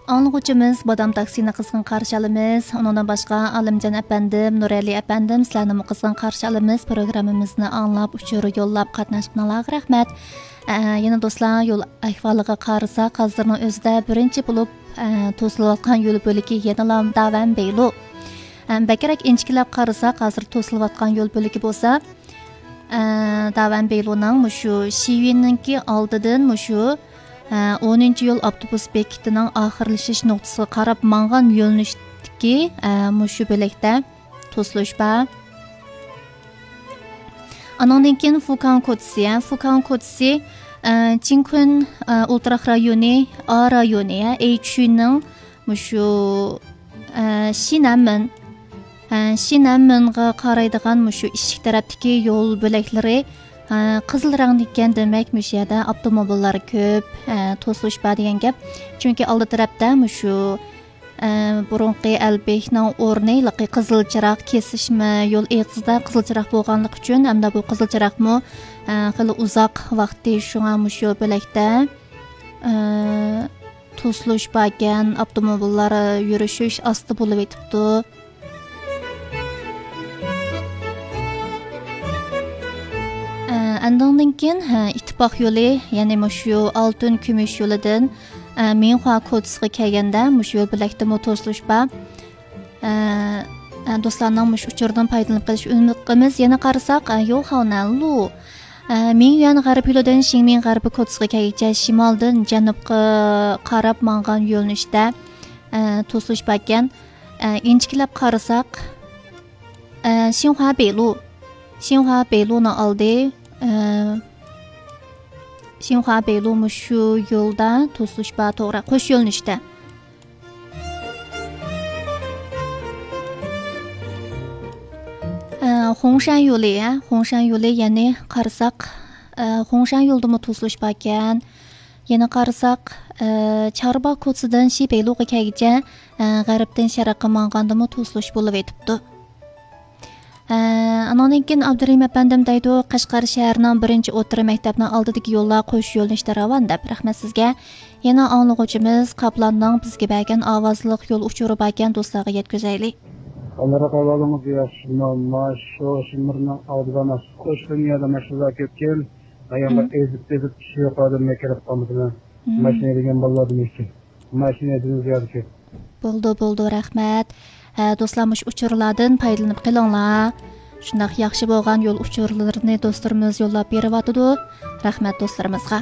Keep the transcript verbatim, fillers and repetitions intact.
ئاڭلىغۇچىمىز بادام تاكسىنى قىزغىن قارشى ئالىمىز. ئۇنىڭدىن باشقا ئالىمجان ئەپەندىم، نۇرئەلى ئەپەندىم، سىلەرنىمۇ قىزغىن قارشى ئالىمىز. پروگراممىمىزنى ئاڭلاپ، ئۇچۇر يوللاپ قاتناشقىنىڭلارغا رەھمەت. ئە، يەنە دوستلار، يول ئەھۋالىغا قارىساق، ھازىرنىڭ ئۆزىدە بىرىنچى بولۇپ، ئە، توسۇلۇۋاتقان يول بۆلىكى يەنىلا داۋەن بېيلۇ. ئە، بەكرەك ئىنچىكىلەپ قارىساق، ھازىر توسۇلۇۋاتقان يول بۆلىكى بولسا، ئە، داۋەن بېيلۇنىڭ مۇشۇ شىۋىننىڭكى ئالدىدىن مۇشۇ، ئە، ئونىنچى يول ئاپتوبۇس بېكىتىنىڭ ئاخىرلىشىش نۇقتىسىغا قاراپ ماڭغان يۆنىلىشتىكى، ئە، مۇشۇ بۆلەكتە توسۇلۇش بار. ئانىڭدىن كېيىن فۇكاڭ كوچىسى، ھە، فۇكاڭ كوچىسى، ئە، چىڭكۇن، ئە، ئولتۇراق رايونى، ئا رايونى، ھە، ئېيچۈننىڭ مۇشۇ، ئە، شىنەنمېن، ئە، شىنەنمېنغا قارايدىغان مۇشۇ ئىشىك تەرەپتىكى يول بۆلەكلىرى، ئە، قىزىل رەڭدە ئىكەن، دېمەك، مۇشۇ يەردە ئاپتوموبىللار كۆپ، ئە، توسۇلۇش بار دېگەن گەپ. چۈنكى ئالدى تەرەپتە مۇشۇ ئە، بۇرۇنقى ئەلبېكنىڭ ئورنى ھېلىقى قىزىل چىراغ كېسىشمە يول ئېغىزىدا قىزىل چىراغ بولغانلىقى ئۈچۈن، ھەمدە بۇ قىزىل چىراغمۇ، ئە، خېلى ئۇزاق ۋاقتى شۇڭا مۇشۇ يول بۆلەكتە، ئە، توسۇلۇش باركەن، ئاپتوموبىللار يۈرۈشۈش ئاستا بولۇۋېتىپتۇ. ئە، ئاندىن كېيىن، ھە، ئىتتىپاق يولى، يەنى مۇشۇ ئالتۇن كۈمۈش يولىدىن، ئە، مىڭخۇا كوچىسىغا كەلگەندە مۇشۇ يول بۆلەكتىمۇ توسۇلۇش بار. ئە، ئە، دوستلارنىڭ مۇشۇ ئۇچۇردىن پايدىلىنىپ قېلىشىنى ئۈمىد قىلىمىز. يەنە قارىساق، ئە، يوخاۋنەنلۇ، ئە، مىڭيۈەن غەرب يولىدىن شىڭمىڭ غەربىي كوچىسىغا كەلگۈچە شىمالدىن جەنۇبقا قاراپ ماڭغان يۆنىلىشتە، ئە، توسۇلۇش باركەن. ئە، ئىنچىكىلەپ قارىساق، ئە، شىنخۇا بېيلۇ، شىنخۇا بېيلۇنىڭ ئالدى، ئە، شىنخۇا بېيلۇ مۇشۇ يولدا توسۇلۇش بار، توغرا، قوش يۆنىلىشتە. ئە، خۇڭشەن يولى، ھە، خۇڭشەن يولى، يەنى قارىساق، ئە، خۇڭشەن يولىدىمۇ توسۇلۇش باركەن. يەنە قارىساق، ئە، چاربا كوچىسىدىن شى بېيلۇغا كەلگۈچە، ئە، غەربتىن شەرققە ماڭغاندىمۇ توسۇلۇش بولۇۋېتىپتۇ. ئە، ئانىڭدىن كېيىن ئابدۇرېھىم ئەپەندىم دەيدۇ، قەشقەر شەھىرىنىڭ بىرىنچى ئوتتۇرا مەكتەپنىڭ ئالدىدىكى يوللار قوش يۆنىلىشتە راۋان دەپ. رەھمەت سىزگە. يەنە ئاڭلىغۇچىمىز قاپلاننىڭ بىزگە بەرگەن ئاۋازلىق يول ئۇچۇرى باركەن، دوستلارغا يەتكۈزەيلى. ئاللىراق ئەھۋالىڭىز ياخشىمۇ؟ مانا شۇ شىمىرنىڭ ئالدىدا مانا قوش لىنىيەدە ماشىنىلار كۆپكەن. ئاياللار مم. ئېزىپ-ئېزىپ، كىشى يوق ئادەملەر كىرىپ قالمىسىلا. مم. ماشىنا ھەيدىگەن بالىلاردىن ئىككى. ماشىنا ھەيدىگەن زىيادە كۆپ. بولدى، بولدى، رەھمەت. ھە، دوستلار، مۇشۇ ئۇچۇرلاردىن پايدىلىنىپ قېلىڭلار. شۇنداق ياخشى بولغان يول ئۇچۇرلىرىنى دوستلىرىمىز يوللاپ بېرىۋاتىدۇ. رەھمەت دوستلىرىمىزغا.